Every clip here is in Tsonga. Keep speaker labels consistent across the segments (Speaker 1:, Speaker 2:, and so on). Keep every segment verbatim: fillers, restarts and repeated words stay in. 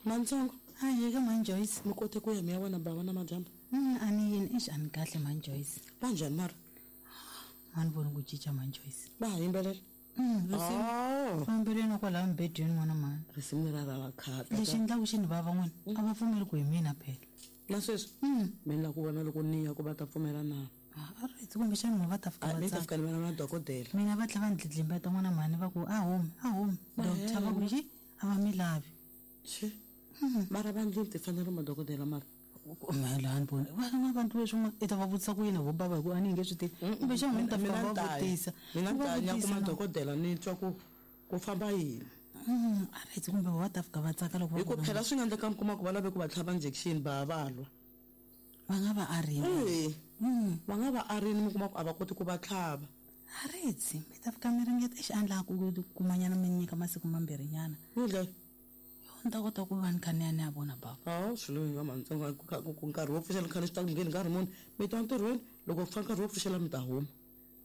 Speaker 1: Mantsongo
Speaker 2: a yeka mhani Joyce.
Speaker 1: Mi kote ku ya mi ya vona bava na madyambu?
Speaker 2: A ni yini exi a ni kahle mhani Joyce.
Speaker 1: Va njhani mara?
Speaker 2: A ni voni ku cinca mhani Joyce.
Speaker 1: Va ha yimbelela?
Speaker 2: Va yimbeleni kwalaha mubedweni n'wana mhani.
Speaker 1: Risimu lera ra khata.
Speaker 2: Lexi endlaku xi ni vava n'wina a va pfumeli ku hi mina phela.
Speaker 1: Na sweswi mi ni lava ku vona loko ni ya ku va ta pfumela na.
Speaker 2: A ri kumbexana n'we va ta fika va
Speaker 1: mi ta fika ni vona na dokodela.
Speaker 2: Mina va tlhela va ni dlidlimbeta n'wana mhani va ku a humi a humi doctor va ku xi a va mi lavi.
Speaker 1: Xi mara va ndlini timfanelo madokodela mara.
Speaker 2: Mela a ni voni va vanhu leswi i ta va vutisa ku yini vo bava hi ku a ni nge swi tivi kumbexana n'wi ta fika va vutisa.
Speaker 1: Mina ni ta ya kuma dokodela ni twa ku ku famba yini.
Speaker 2: A ri kumbe va ta fika va tsaka loko
Speaker 1: hi ku phela swi nga endleka mi kuma ku va lave ku va tlhava injection va va lwa.
Speaker 2: Va nga va arini.
Speaker 1: Va nga va arini mi kuma ku a va koti ku va tlhava.
Speaker 2: A ri mi ta fika mi ringeta exi a ni lava ku kumanyana mi nyika masiku mambirhinyana. Ni ta kota ku va ni kha ni ya ni ya vona bava.
Speaker 1: A swi lo va mantsongo ku nkarhi wo pfuxela ni kha ni swi ta ku ngheni nkarhi muni mi ta ntirhweni loko ku fika nkarhi wo pfuxela mi ta huma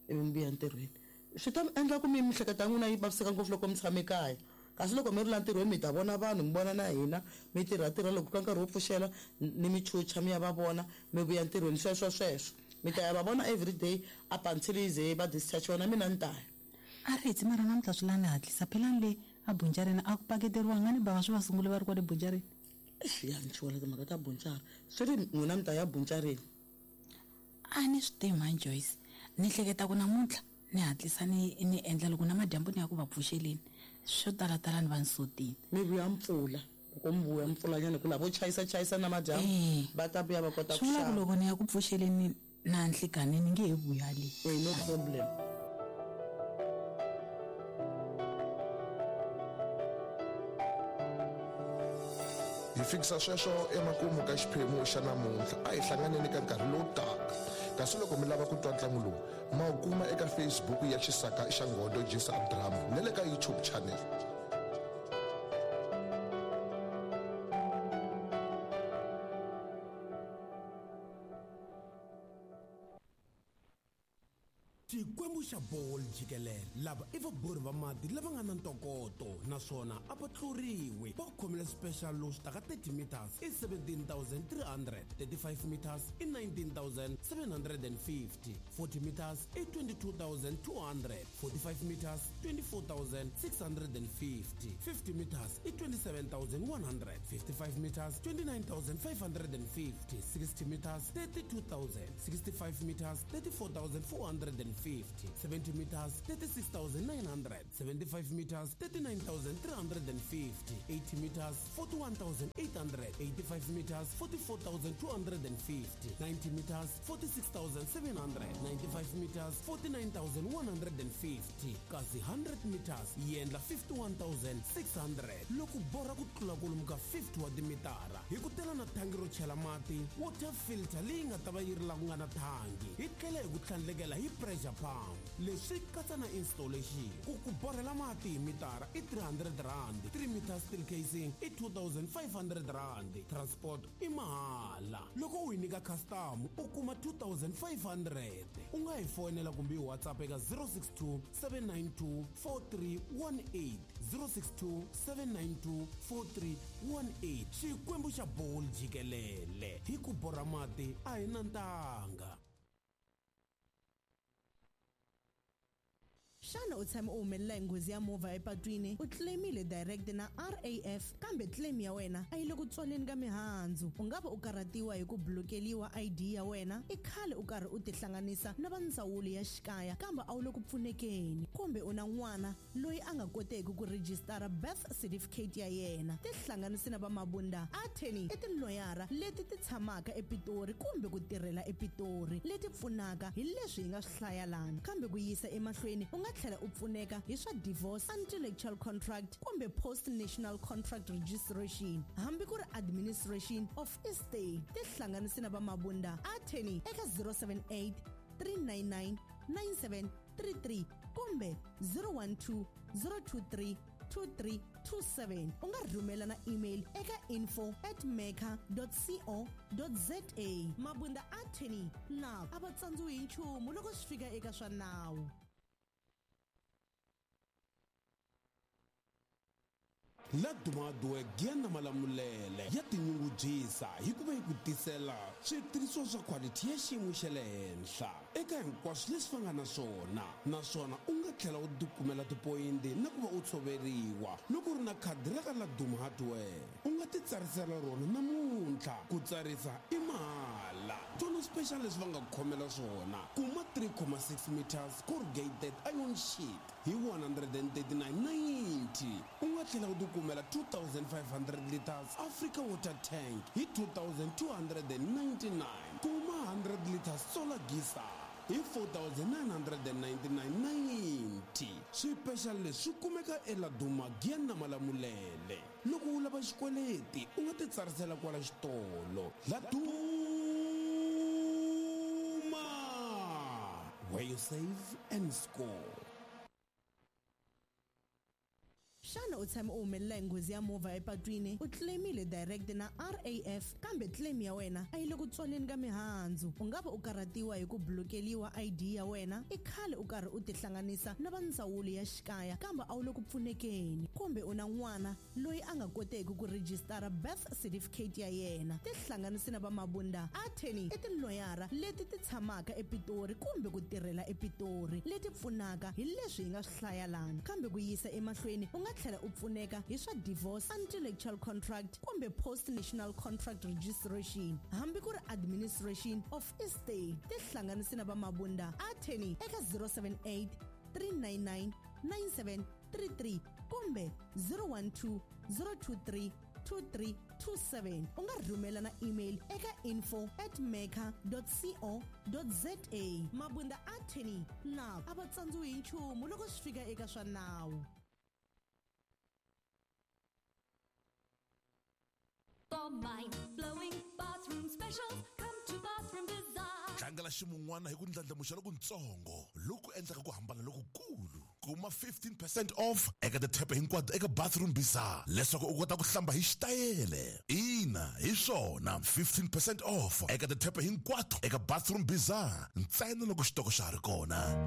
Speaker 1: ivi mi vuya ntirhweni. Swi ta mi endla ku mi miehleketo ya n'wina yi vaviseka ngopfu loko mi tshame kaya. Kasi loko mi ri la ntirhweni mi ta vona vanhu mi vona na hina mi tirha tirha loko ka nkarhi wo pfuxela ni mi chucha mi ya va vona mi vuya ntirhweni sweswo sweswo mi ta ya va vona every day up until yi ze va discharge wena mina ni ta ya.
Speaker 2: A ri mara namuntlha swi la ni hatlisa phela ni le a bunjareni a ku paketeriwanga ni bava swi va sungule va ri kwale bunjareni.
Speaker 1: Ya ni chuwela timhaka ta bunjara swi ri n'wina mi ta ya bunjareni.
Speaker 2: A ni swi tivi mhani Joyce ni hleketa ku namuntlha ni hatlisa ni ni endla loko na madyambu ni ya ku va pfuxeleni swo talatala ni va ni sotini.
Speaker 1: Mi vuya mpfula loko mi vuya mpfulanyana ku lavo chayisa chayisa na madyambu va ta vuya va kota ku
Speaker 2: xava. Loko ni ya ku pfuxeleni na nhlikani ni nge he vuya le.
Speaker 1: No problem.
Speaker 3: Hi fikisa sweswo emakumu ka xiphemu xa namuntlha a hi hlanganeni ka nkarhi lowu taka. Kasi loko mi lava ku twa ntlangu lowu ma wu kuma eka Facebook ya Xisaka xa Ngodo Jisa Drama na le ka YouTube channel.
Speaker 4: Xikwembu xa bolo jikelele lava i vabori va mati lava nga na ntokoto naswona a va tluriwi va khomile special lowu swi taka thirty meters i seventeen thousand three hundred, thirty-five meters i nineteen thousand seven hundred and fifty, forty meters i twenty-two thousand two hundred, forty-five meters twenty-four thousand six hundred and fifty, fifty meters i twenty-seven thousand one hundred, fifty-five meters twenty-nine thousand five hundred and fifty, sixty meters thirty-two thousand, sixty-five meters thirty-four thousand four hundred and fifty, seventy meters thirty-six thousand nine hundred, seventy-five meters thirty-nine thousand three hundred and fifty, eighty meters forty-one thousand eight hundred, eighty-five meters forty-four thousand two hundred and fifty, ninety meters forty-six thousand seven hundred, ninety-five meters forty-nine thousand one hundred and fifty, kasi hundred meters yi endla fifty-one thousand six hundred. Loko borha ku tlula kwalomu ka fifty wa timitara hi ku tela na thangi ro chela mati water filter leyi nga ta va yi ri la ku nga na thangi hi tlhela hi ku tlhandlekela hi pressure pump. Leswi katsa na installation. Ku ku borhela mati hi mitara i three hundred rand, three meters steel casing i two thousand five hundred rand, transport i mahala. Loko u yi nyika custom u kuma two thousand five hundred. U nga hi fonela kumbe hi WhatsApp eka zero six two seven nine two four three one eight, zero six two seven nine two four three one eight. Xikwembu xa bolo jikelele hi ku borha mati a hi na ntanga.
Speaker 5: Xana u tshame u humelela hi nghozi ya movha epatwini u claimile direct na R A F kambe claim ya wena a yi le ku tswaleni ka mihandzu u nga va u karhatiwa hi ku blokeliwa I D ya wena i khale u karhi u tihlanganisa na va ndzawulo ya xikaya kambe a wu le ku pfunekeni kumbe u na n'wana loyi a nga koteki ku rejistara birth certificate ya yena tihlanganisi na va Mabunda Attorney i tiloyara leti ti tshamaka ePitori kumbe ku tirhela ePitori leti pfunaka hi leswi hi nga swi hlaya lana kambe ku yisa emahlweni u nga tlhela u pfuneka hi swa divorce, intellectual contract kumbe post national contract registration hambi ku ri administration of estate tihlanganisi na va Mabunda Attorney eka zero seven eight three nine nine nine seven three three kumbe zero one two zero two three two three two seven u nga rhumela na email eka info at meka dot co dot za. Mabunda Attorney lava a va tsandziwi hi nchumu loko swi fika eka swa nawu.
Speaker 4: Laduma Hardwork ya na Malamulele ya tinyungubyisa hi ku va yi ku tisela switirhisiwa swa quality ya xiyimo xa le henhla eka hinkwaswo leswi va nga na swona, naswona u nga tlhela u tikumela tipoyinti na ku va u tshoveriwa loko u ri na khadi ra ka Laduma Hardware. U nga ti tsarisela rona namuntlha, ku tsarisa i mahala. Tona special leswi va nga ku khomela swona, kuma three comma six meters corrugated iron sheet hi one hundred and thirty-nine ninety. U nga tlhela u tikumela two thousand five hundred liters Africa water tank hi two thousand two hundred and ninety-nine. Kuma hundred liters solar geyser hi four thousand nine hundred and ninety-nine ninety. Swipexali leswi swi kumeka eLaduma Giyani na Malamulele. Loko u lava xikweleti u nga ti tsarisela kwala xitolo. Laduma, where you save and score.
Speaker 5: Xana u tshame u humelela hi nghozi ya movha epatwini, u claimile direct na R A F kambe claim ya wena a yi le ku tswaleni ka mihandzu? U nga va u karhatiwa hi ku blokeliwa I D ya wena, i khale u karhi u tihlanganisa na va ndzawulo ya xikaya kambe a wu le ku pfunekeni, kumbe u na n'wana loyi a nga koteki ku rejistara birth certificate ya yena. Tihlanganisi na va Mabunda Attorney i tiloyara leti ti tshamaka ePitori kumbe ku tirhela ePitori, leti pfunaka hi leswi hi nga swi hlaya lana. Kambe ku yisa emahlweni u nga tlhela u pfuneka hi swa divorce, intellectual contract kumbe post national contract registration, hambi ku ri administration of estate. Tihlanganisi na va Mabunda Attorney eka zero seven eight, three nine nine, nine seven three three kumbe zero one two, zero two three, two three two seven. U nga rhumela na email eka info at mecca dot co dot za. Mabunda Attorney na a va tsandziwi hi nchumu loko swi fika eka swa nawu.
Speaker 6: For mind-blowing bathroom specials, come to Bathroom Bazaar.
Speaker 3: Tlangela ximun'wana hi ku ndlandlamuxa lokutsongo loku endlaka ku hambana lokukulu. Kuma fifteen percent off eka tithepe hinkwato eka Bathroom Bazaar leswaku u kota ku hlamba hi xitayele. Ina, hi swona, fifteen percent off eka tithepe hinkwato eka Bathroom Bazaar ntsena loko xitoko xa ha ri kona.